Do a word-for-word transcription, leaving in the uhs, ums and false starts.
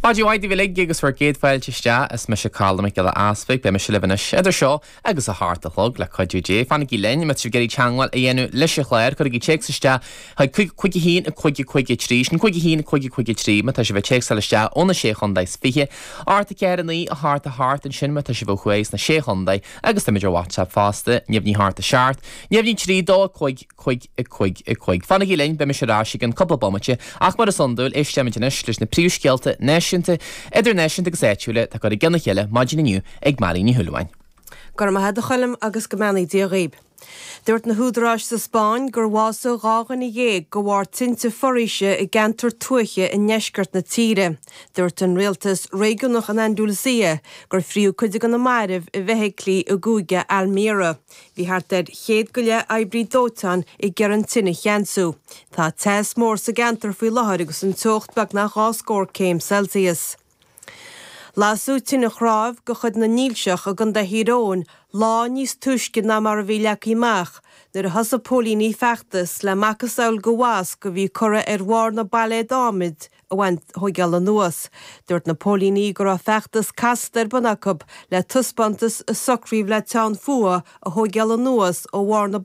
Maidin mhaith daoibh uilig agus bhur gcéad fáilte isteach is mise Colm Mac Giolla Easpaig, beidh mise libh anois idir seo agus a hocht a chlog le cuidiú Dé. Fanaigí linn má tá sibh ag iarraidh teagmháil a dhéanamh leis an chlár, cuirigí téacs isteach chuig cúig a haon a cúig a cúig a trí, sin cúig a haon a cúig a cúig a trí má tá sibh ag téacsáil isteach ó na Sé Chontae is Fiche, ocht a ceathair a naoi a hocht a hocht ansin má tá sibh ó thuaidh sna Sé Chontae agus táimid ar WhatsApp fosta, neamhní a hocht a seacht, neamhní trí dó a cúig cúig a cúig a cúig. Fanaigí linn, beidh mise ar ais i gceann cúpla bomaite, ach mar is iondúil, éistfimid anois leis na príomhscéalta náisiúnta, idirnáisiúnta agus áitiúla atá curtha i gcionn a chéile maidin inniu ag Máirín Ní Shúilleabháin. Go raibh maith agat a Choilm agus go mbeannaí Dia dhaoib. Dúirt na húdaráis sa Spáinn gur bhásaigh dhá dhuine dhéag de bharr tinte foraoise i gceantar tuaithe i ndeisceart na tíre. Dúirt an rialtas réigiúnach in Andalusia gur fríothadh cuid de na mairbh i bhfeithiclí i gcúige Almería. Bhí thart ar chéad go leith oibrí dóiteáin ag iarraidh an tine a cheansú. Tá teas mór sa gceantar faoi láthair agus an teocht beagnach dhá scór céim Celsius. Lasadh tine chnámh de chuid na nDílseach i gContae Thír Eoghain lá níos túisce ná mar a bhí leagtha amach nuair a thosaigh póilíní feachtas le macasamhail de mhasc a bhí curtha ar bharr na bpailléad adhmaid a bhaint thógáil anuas. Dúirt na póilíní go raibh feachtas casta ar bun acu le taispeántas a socraíodh le teann fuatha a thógáil anuas ó bharr na